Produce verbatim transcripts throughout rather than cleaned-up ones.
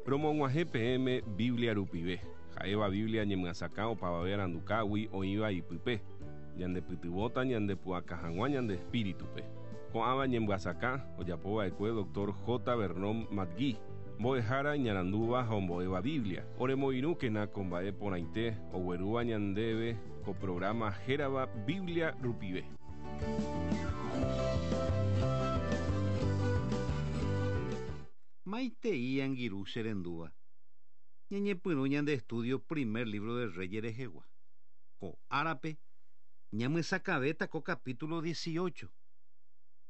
Romog̃uahẽ peẽme Biblia rupive, ha'éva Biblia ñemyasakã opavave arandukágui oĩva ipype, ñandepytyvõta ñandepu'aka hag̃ua ñande espíritupe. Ko'ãva ñemyasakã ojapova'ekue doctor J. Vernon McGee, mbo'ehára iñarandúva ha ombo'éva Biblia. Oremoirũkena ko mba'e porãite oguerúva ñandéve ko programa hérava Biblia rupive. Maitei angirũ che rendúva. Ñañepyrũ ñande estudio primer libro de Reyes rehegua. Ko árape ñamyesakãvéta ko capítulo dieciocho.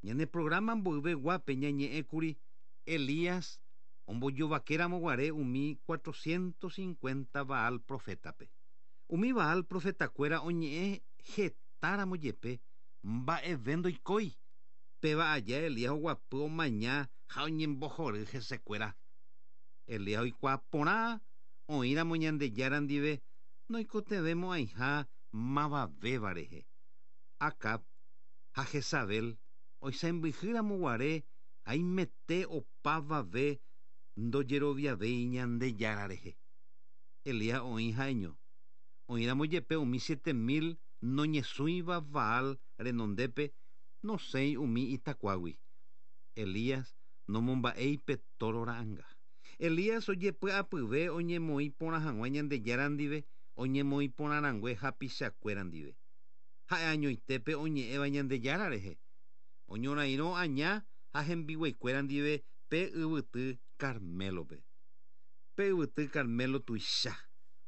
Ñane programa mboyveguápe ñañe'ẽkuri Elías ombojovakéramoguare umi cuatrocientos cincuenta Baal profétape. Umi Baal profetakuéra oñe'ẽ hetáramo jepe mba'eve ndoikói. Péva aja Elías oguapy omaña ha oñembohory hesekuéra. Elías oikuaa porã oĩramo Ñandejára ndive noikotevẽmo'ãiha mavavéva rehe. Acab ha Jezabel oisãmbyhýramoguare haimete opavave ndojeroviavéi Ñandejára rehe. Elías oĩ ha'eño. Oĩramo jepe umi siete mil noñesũiva Baal renondépe nosẽi umi itakuágui. Elías nomomba'éi pe toro ra'ãnga. Elías ojepy'apyve oñemoĩ porã hag̃ua Ñandejára ndive oñemoĩ porãrangue hapichakuéra ndive. Ha'e añoitépe oñe'ẽva Ñandejára rehe. Oñorairõ aña ha hembiguaikuéra ndive pe yvyty Carmelope. Pe yvyty Carmelo tuicha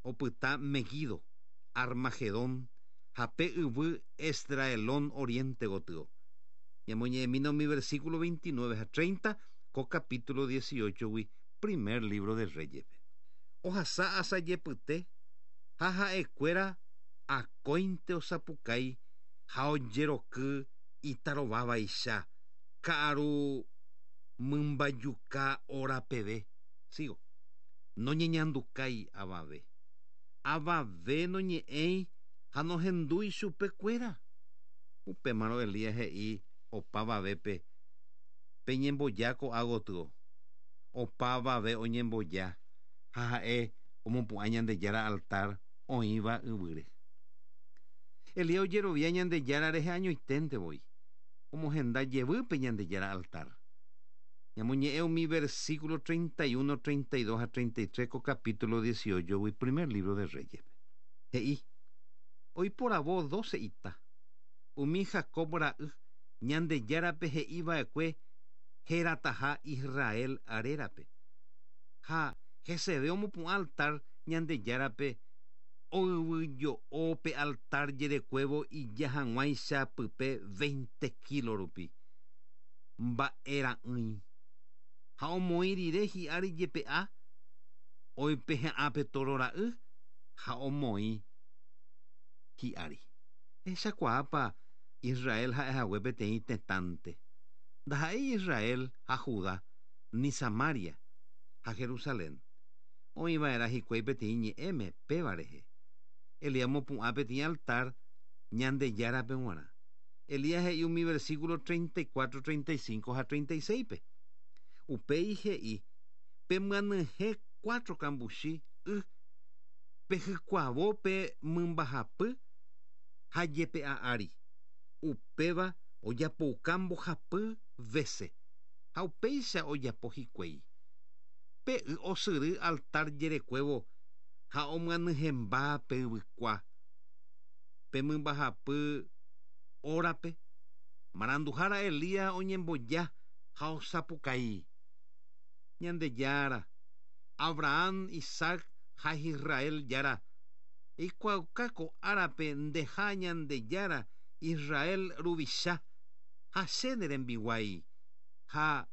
opyta Megido, Armagedón ha pe yvy Esdraelón oriente gotyo. Ñamoñe'ẽmína umi versículo veintinueve ha treinta ko capítulo dieciocho-gui primer libro de Reyes-pe. Ohasa asajepyte ha ha'ekuéra akóinte osapukái ha ojeroky itarovávaicha ka'aru mymbajuka hora peve. Sigo. Noñeñandukái avave. Avave noñe'ẽi ha nohendúi chupekuéra. Upémarõ Elías he'i opavavépe peñemboja ko'ã gotyo. Opavave oñemboja ha ha'e omopu'ã Ñandejára altar oĩva yvýre. Elías ojerovia Ñandejára rehe añoiténte voi. Omohenda jevýpe Ñandejára altar. Ñamoñe'ẽ umi versículo treinta y uno, treinta y dos ha treinta y tres ko capítulo dieciocho-gui primer libro de Reyes-pe. He'i, oiporavo doce ita. Umi Jacob ra'y Ñandejárape he'iva'ekue herataha Israel arérape. Ha heseve omopu'ã altar Ñandejárape oyvyjo'o pe altar jerekuévo ija hag̃uáicha pype veinte kilo rupi. Mba'era'ỹi. Ha omoĩ rire hi'ári jepe'a oipehe'ã pe toro ra'y ha omoĩ hi'ári. Ehechakuaápa Israel ha'ehague peteĩ tetãnte. Ndaha'éi Israel ha Judá, ni Samaria ha Jerusalén. Oĩva'erã hikuái peteĩ ñe'ẽme péva rehe. Elías omopu'ã peteĩ altar Ñandejárape g̃uarã. Elías he'i umi versículo treinta y cuatro, treinta y cinco ha treinta y seis-pe. Upéi he'i pemyanyhẽ cuatro kambuchi y pehykuavo pe mymbahapy ha jepe'a ári. Upéva ojapouka mbohapy vece ha upéicha ojapo hikuái. Pe y osyry altar jerekuévo ha omyanyhẽmba pe yvykua. Pe mymbahapy órape maranduhára Elías oñemboja ha osapukái. Ñandejára, Abraham, Isaac ha Israel jára, eikuaauka ko árape ndeha Ñandejára Israel ruvicha ha che ne rembiguái ha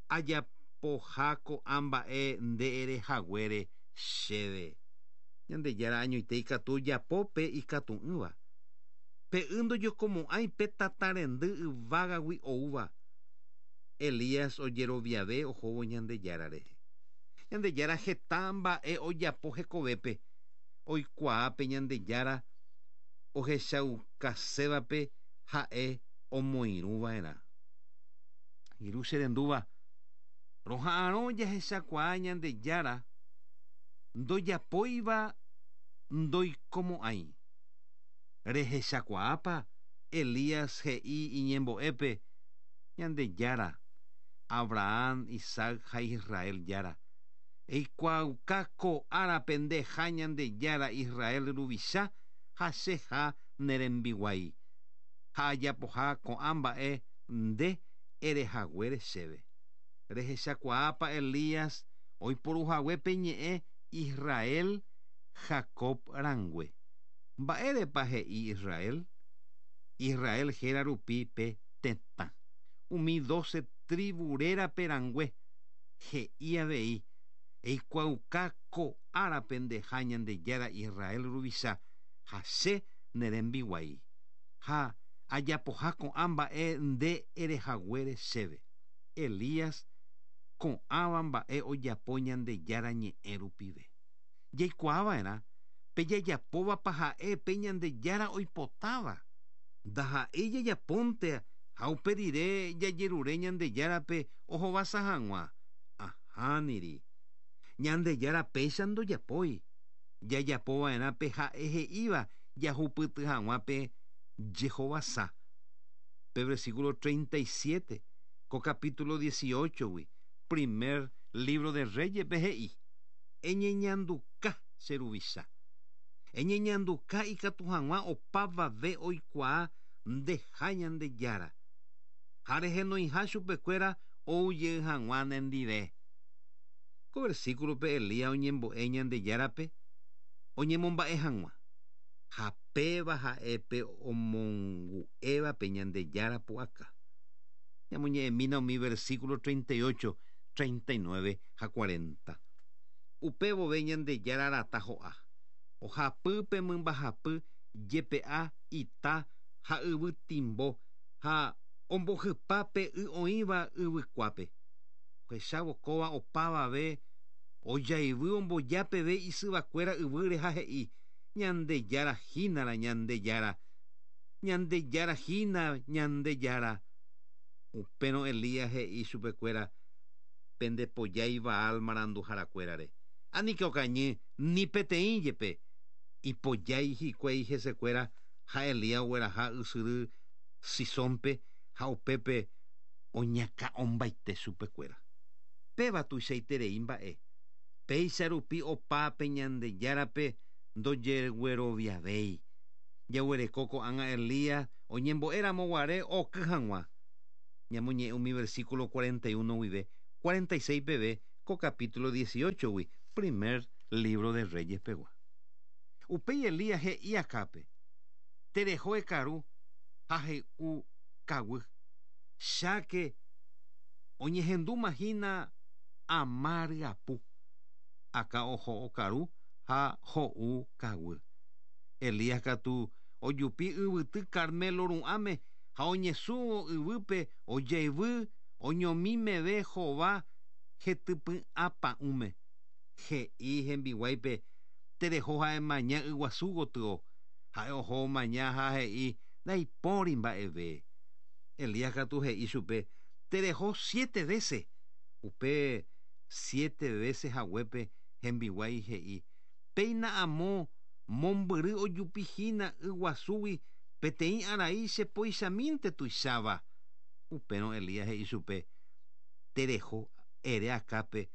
ajapoha ko'ã mba'e nde erehaguére chéve. Ñandejára añoite ikatu japópe ikatu'ỹva. Pe y ndojokomo'ãi pe tata rendy yvágagui oúva. Elías ojeroviave ohóvo Ñandejára rehe. Ñandejára heta mba'e ojapo hekovépe. Oikuaa pe Ñandejára ohechaukasévape ha'e omoirũva'erã. Irũ che rendúva, Roha'arõ jahechakuaa Ñandejára ndojapóiva ndoikomo'ãi. Rehechakuaápa Elías he'i iñembo'épe Ñandejára Abraham, Isaac ha Israel jára. Eikuaauka ko árape ndeha Ñandejára Israel ruvicha ha cheha ne rembiguái. Ha ajapoha ko'ã mba'e nde erehaguére chéve. Rehechakuaápa Elías oiporuhaguépe ñe'ẽ Israel Jacob rãngue. Mba'érepa he'i Israel? Israel héra rupi pe tetã. Umi doce tribu rérape rãngue he'i avei eikuaauka ko árape ndeha Ñandejára Israel ruvicha ha che ne rembiguái. Ha ajapoha ko'ã mba'e nde erehaguére chéve. Elías ko'ãva mba'e ojapo Ñandejára ñe'ẽ rupive. Jaikuaava'erã pe jajapóvapa ha'e pe Ñandejára oipotáva. Ndaha'éi jajapónte ha upe rire jajerure Ñandejárape ohovasa hag̃ua. Ahániri. Ñandejára péicha ndojapói. Jajapova'erã pe ha'e he'íva jahupyty hag̃ua pe jehovasa. Pe versículo treinta y siete, ko capítulo dieciocho-gui, primer libro de Reyes pe he'i. Eñeñanduka che ruvicha. Eñeñanduka ikatu hag̃ua opavave oikuaa ndeha Ñandejára. Ha rehenoiha chupekuéra oujey hag̃ua nendive. Ko versículo-pe Elías oñembo'e Ñandejárape oñemomba'e hag̃ua. Ha péva ha'épe omongu'éva pe Ñandejára pu'aka. Ñamoñe'ẽmína umi versículo treinta y ocho, treinta y nueve ha cuarenta. Upévove Ñandejára rata ho'a. Ohapýpe mymbahapy jepe'a ita ha yvytimbo ha ombohypápe y oĩva yvykuápe. Ohechávo kóva opavave ojaivy ombojápeve isyvakuéra yvýre ha he'i Ñandejára hínara Ñandejára. Ñandejára hína Ñandejára. Upérõ Elías he'i chupekuéra pendepojái Baal maranduharakuérare. Aníke okañy ni peteĩ jepe. Ipojái hikuái hesekuéra ha Elías ogueraha ysyry Sisónpe ha upépe oñakã'ombaite chupekuéra. Péva tuichaiterei mba'e. Péicha rupi opápe Ñandejárape ndojegueroviavéi. Jaguereko ko'ág̃a Elías oñembo'éramo guare oky hag̃ua. Ñamoñe'ẽ umi versículo cuarenta y uno guive, cuarenta y seis peve ko capítulo dieciocho-gui, primer libro de Reyes pegua. Upéi Elías he'i Acápe, tereho ekaru ha he'u kaguy. Cháke oñehendúma hína ama ryapu. Acá oho okaru ha ho'u kaguy. Elías katu ojupi yvyty Carmelo ru'ãme ha oñesũvo yvýpe ojaivy oñomimeve hova hetypy'apa'ũme. He'i hembiguáipe tereho ha'emaña yguasu gotyo. Ha'e oho omaña ha he'i ndaipóri mba'eve. Elías katu he'i chupe tereho siete veces. Upe siete veces haguépe hembiguái he'i péina amo mombyry ojupihína yguasúgui peteĩ arai chepoichamínte tuicháva. Upérõ Elías he'i chupe tereho ere Acápe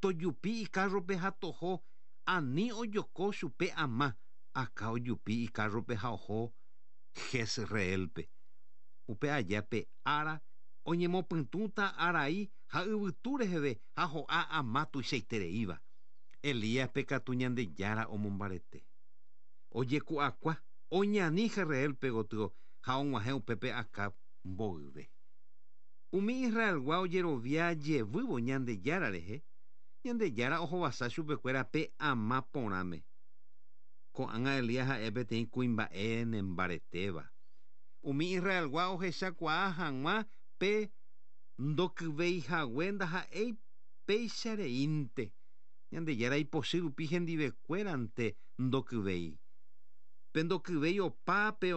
tojupi ikárrope ha toho ani ojoko chupe ama. Acá ojupi ikárrope ha oho Jezreelpe. Upe aja pe ára oñemopytũta arai ha yvytu reheve ha ho'a ama tuichaitereíva. Elíaspe katu Ñandejára omombarete. Ojeku'akua oñani Jezreelpe gotyo ha og̃uahẽ upépe Acab mboyve. Umi Israelgua ojerovia jevývo Ñandejára rehe, Ñandejára ohovasa chupekuéra pe ama porãme. Ko'ág̃a Elías ha'e peteĩ kuimba'e nembaretéva. Umi Israelgua ohechakuaa hag̃ua pe ndokyveihague ndaha'éi peichareínte. Ñandejára ipochy rupi hendivekuérante ndokyvéi. Pe ndokyvéi opa pe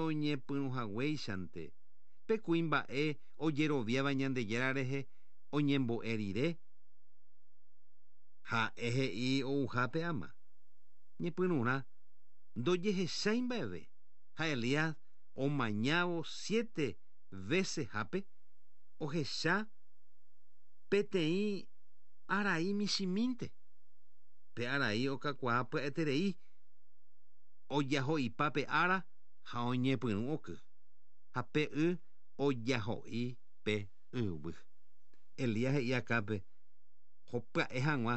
Ha'e he'i ouhápe ama. Ñepyrũrã ndojehechái mba'eve ha Elías omañávo siete veces hápe ohecha peteĩ arai michĩmínte. Pe arai okakuaa pya'eterei ojaho'ipa pe ára ha oñepyrũ oky ha pe y ojaho'i pe yvy. Elías he'i Acápe hopya'e hag̃ua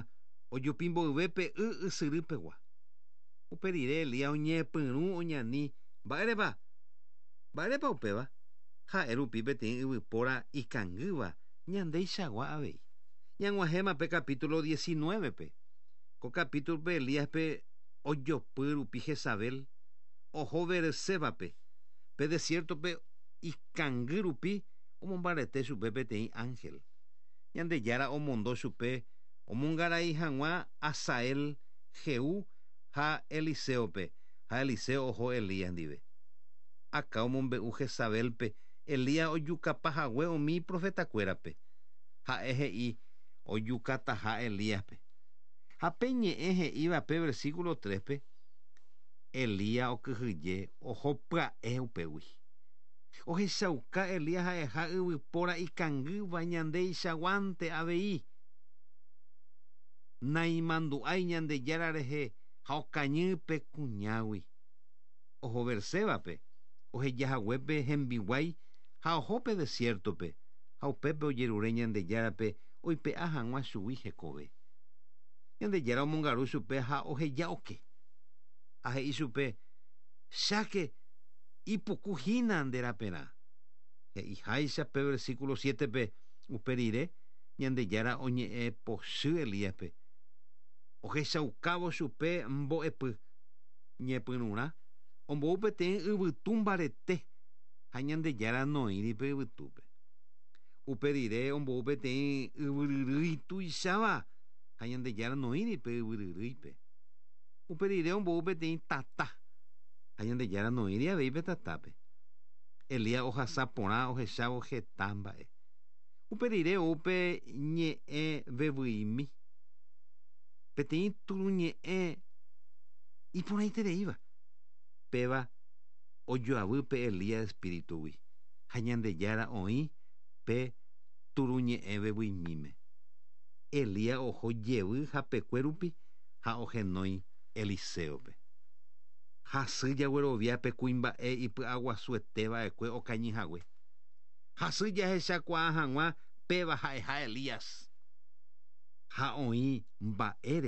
ojupi mboyve pe y ysyrýpegua. Upe rire Elías oñepyrũ oñani mba'érepa mba'érepa upéva ha'e rupi peteĩ yvypóra ikangýva ñandeichagua avei. Ñag̃uahẽma pe capítulo diecinueve-pe. Ko capítulo-pe Elíaspe ojopy rupi Jezabel oho Beersébape pe desierto-pe ikangy rupi omombarete chupe peteĩ ángel. Ñandejára omondo chupe omongarai hag̃ua Hazael, Jehú ha Eliseope ha Eliseo oho Elías ndive. Acab omombe'u Jezabelpe Elías ojukapahague umi profetakuérape. Ha'e he'i ojukataha Elíaspe. Ha pe ñe'ẽ he'íva pe versículo tres-pe Elías okyhyje oho pya'e upégui. Ohechauka Elías ha'eha yvypóra ikangýva ñandeichaguánte avei. Naimandu'ái Ñandejára rehe ha okañy pe kuñágui. Oho Beersébape ohejahaguépe hembiguái ha oho pe desierto-pe ha upépe ojerure Ñandejárape oipe'a hag̃ua chugui hekove. Ñandejára omongaru chupe ha oheja oke. Ha he'i chupe cháke ipuku hína nde raperã. He'iháicha pe versículo siete-pe upe rire Ñandejára oñe'ẽ pochy Elíaspe. Ohechaukávo chupe mbo'epy ñepyrũrã ombou peteĩ yvytu mbarete ha Ñandejára noĩri pe yvytúpe. Upe rire ombou peteĩ yvyryrýi tuicháva ha Ñandejára noĩri pe yvyryrýipe. Upe rire ombou peteĩ tata ha Ñandejára noĩri avei pe tatápe. Elías ohasa porã ohechávo heta mba'e. Upe rire ou pe ñe'ẽ vevyimi. Peteĩ turuñe'ẽ iporãitereíva. Péva ojoavy pe Elías espíritugui ha Ñandejára oĩ pe turuñe'ẽ vevyimíme. Elías oho jevy hapekue rupi ha ohenói Eliseope. Hasy jaguerovia pe kuimba'e ipy'aguasuetéva'ekue okañyhague. Hasy jahechakuaa hag̃ua péva ha'eha Elías. Ha oĩ mba'ére